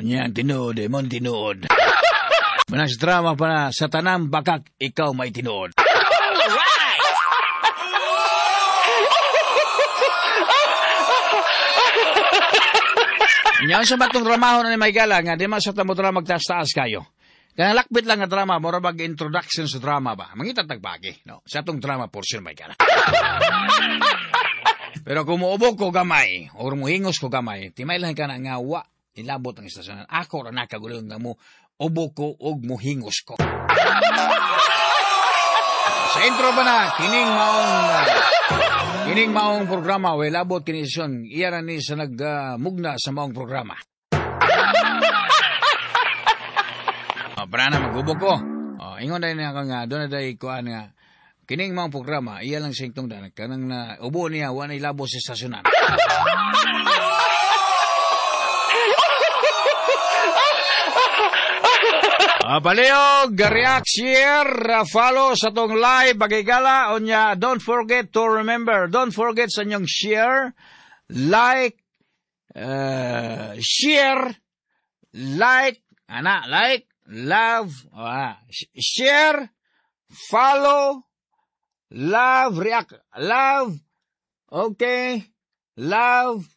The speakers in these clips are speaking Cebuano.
Niya ang tinuod eh, mon tinuod. Manas drama pa na, sa tanang bakak, ikaw may tinuod. Alright! Nya sa batong dramaho na ni Maygala nga di man sa tamo drama magtaas-taas kayo. Kaya lakbit lang nga drama, mura bag introduction sa drama ba? Mangita tagbagi, no? Sa atong drama portion, Maygala. Pero kung muubog ko gamay, or muhingos ko gamay, timay lang ka na nga wa, ilabot ang istasyonan. Ako ra nakagulo nga mo, ubo ko og muhingos ko. Sa intro ba na, kining maong programa, way labot kini sesyon, iya ra ni sa nagmugna sa maong programa. Para na magubo ko. Ingon na niya nga, doon na dahil kuan nga, kining maong programa, iya lang siyang tungdan, kanang na, ubo niya, wa na ilabot sa istasyonan. Palihog, react, share, follow sa tong live, bagigala, onya, don't forget to remember, don't forget sa inyong share, like, share, like, ana, like, love, share, follow, love, react, love, okay, love,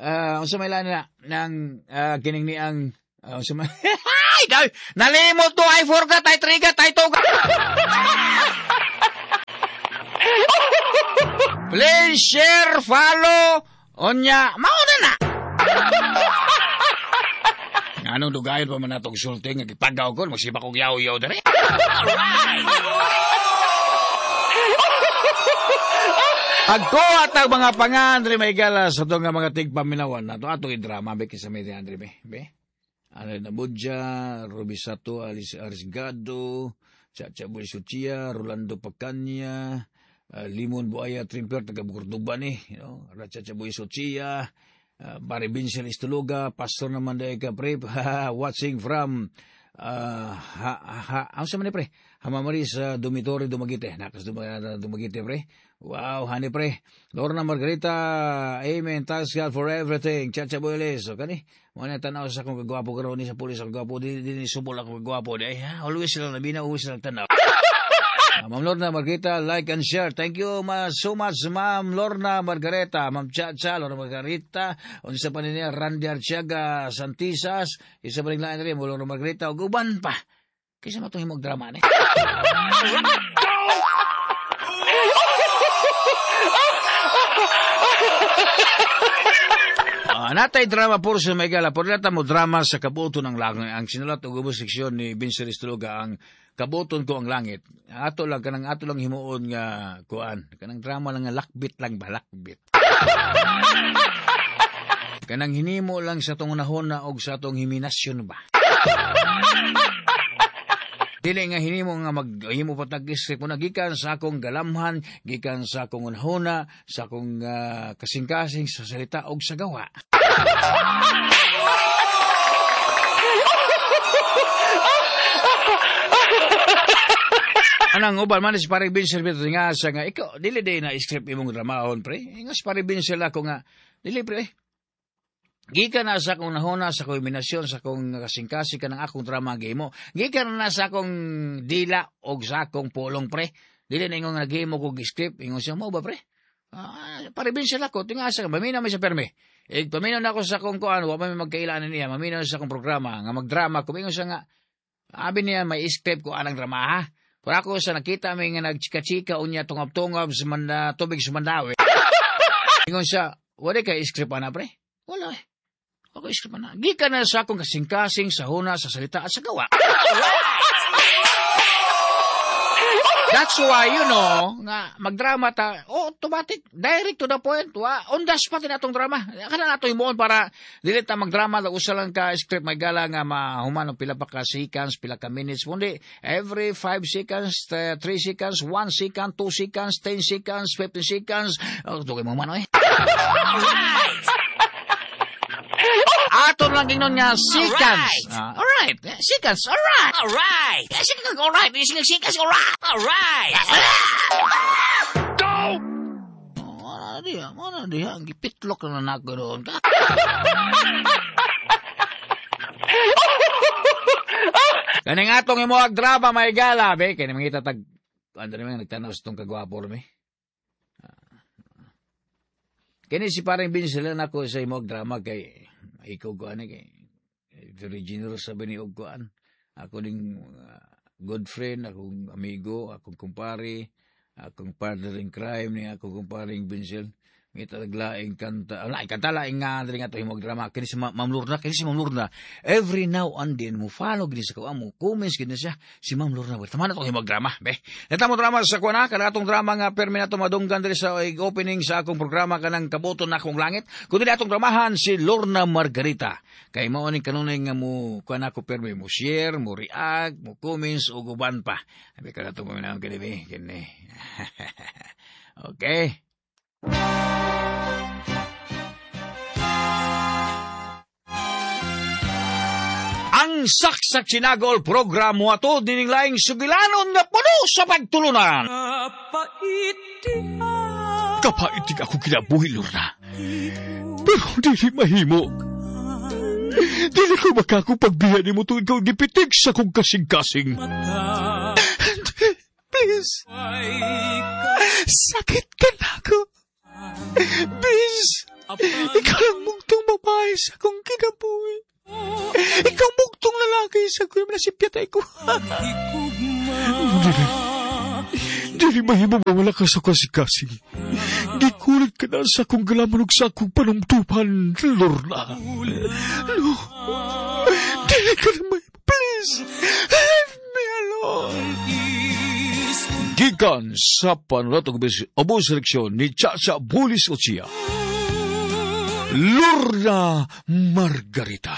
unsa may lain na, nang, kining ni ang, unsa may, ay, nalimot to, I forgot, I trigger, I toga. Please share, follow, onya, mauna na. Anong dugayon pa man natong sulti, nga gipagaw ko, magsiba kong yaw-yaw dere. Alright! Agko at ang mga pangandre may gala sa itong mga tigpaminawan na ito. Atong i-drama, be, kisa may Andre, be, be. Ano na Budja, Ruby Sato, Alice Arisgado, Chacha Boy Suchia, Rolando Pacanya, Limon Buaya Trimper, taga Bukordoba ni, you know, Chacha Boy Suchia, Barry Vincent Istuluga, Pastor naman dahil ka, pre, watching from, ang sa man ni, pre? Hamamaris, Dormitory, Dumaguete. Nakas Dumaguete, pre. Wow, honey, pre. Lorna Margarita, amen. Thanks God for everything. Chacha Boyles. So, kani, mga tanaw sa akong kagwapo karoon ni sa pulis akong kagwapo. Di ni subol akong kagwapo. Di, always sila nabina, always sila tanaw. Ma'am Lorna Margarita, like and share. Thank you so much, Ma'am Lorna Margarita, Ma'am Chacha, Lorna Margarita, unsa pa niya, Randy Archiaga, Santisas, isa pa rin lain rin, Lorna Margarita, ug uban pa. Kaysa matong himog drama ni. Natay drama puro sa Megala. Puro nata mo drama sa Kabuto ng Langit. Ang sinulat og ubos seksyon ni Vincent Estologa, ang Kabuton ko ang Langit. Ato lang, kanang ato lang himuon nga kuan. Kanang drama lang nga lakbit lang ba, lakbit. Kanang hinimo lang sa tong unahon na og sa atong himinasyon ba. Dili nga hinimo nga maghimo pa tag-isip ko na gikan sa akong galamhan, gikan sa akong unahona, sa akong kasing-kasing sa salita og sa gawa. Anang uban man si Pare Vincent Vito nga sa nga ikaw dili day na script imong dramahon pre. Nga si Pare Vincent ako nga dili pre. Gikan na sa akong nahona, sa akong iminasyon, sa akong kasing-kasing ka ng akong drama gihimo. Gikan na sa akong dila og sa akong pulong pre. Dili na ingong naghimo kog script. Ingon siya mo ba pre? Pare Vincent ako, tingasa ka, maminaw may sa perme. Eh, paminaw na ako sa akong kuan, wa pa may magkailanan niya, maminaw sa akong programa, nga magdrama ko. Ingon siya nga, abi niya may script ko anang drama ha. Pero ako sa nakita may nga nagchika-chika unya tungab-tungab sa tubig sa Mandawi. Ingon siya, wala kay script ana pre? Wala eh. Ako script ana. Gikan na sa akong kasing-kasing, sa huna, sa salita at sa gawa. That's why, you know, nga magdrama ta, automatic, direct to the point, wa, on the spot na atong drama. Kana nato himuon para dili ta magdrama, usa lang ka script may gala nga mahuman og pila pa ka seconds, pila ka minutes, kundi every 5 seconds, 3 seconds, 1 second, 2 seconds, 10 seconds, 15 seconds, dugay mo man oy. Alright! Ato lang ingnon nga seconds. Alright. Alright. Seconds, alright. Alright. Seconds, alright. Seconds, alright. Alright. Go! Oh, ano diha, ang gipitlok na nako doon ka. Kaning atong imuhag drama may gala, be. Kaya mangita tag, ano naman, nagtanaw sa itong kagwapo mi. Kini si parang Vincel nako sa imuhag drama kay, ikaw ko ani kay, very generous sabi ni og kuan. Ako ning good friend, akong amigo, akong kumpare, akong partner in crime ni akong kumparing Vincel. Ngita naglaing kanta, laing kanta, laing nga, diri nga to himog drama. Kini si Ma'am Lorna, kini si Ma'am Lorna. Every now and then, mo follow gini sa kuha, mo comments gini siya, si Ma'am Lorna. Tama na itong himog drama, be. Neta mo drama sa kuha na, kada atong drama nga permi na madunggan diri sa opening sa akong programa kanang Kabuton na akong langit. Kundi atong dramahan si Lorna Margarita. Kay mao ning kanunay nga mo kuha na ako permi, mo share, mo react, mo comments, o guban pa. Abi kada itong paminahon kini, be. Kini. Okay. Ang Saksak Sinagol program mo ato dining laing sugilanon nga puno sa pagtulunan. Kapaitig ako kinabuhi, Lorna. Pero dili mahimo. Dili ko makakupagbiya ni mo tuwing ikaw gipitig sa kong kasing-kasing. Please. Sakit ka na ako. Please. Ikaw ang mugtong babae sa akong kinabuhi. Ikaw mugtong lalaki sa akong nasipyatay ko. Dili mahimo mawala ka sa kasing-kasing. Gikulit ka na sa akong galaman ug sa akong panumtupan, Lorna. No. Dili ka na mahimo. Please, leave me alone. Gikan sa panulat og ubos seleksyon ni Chacha Bulis Ochia, Lorna Margarita.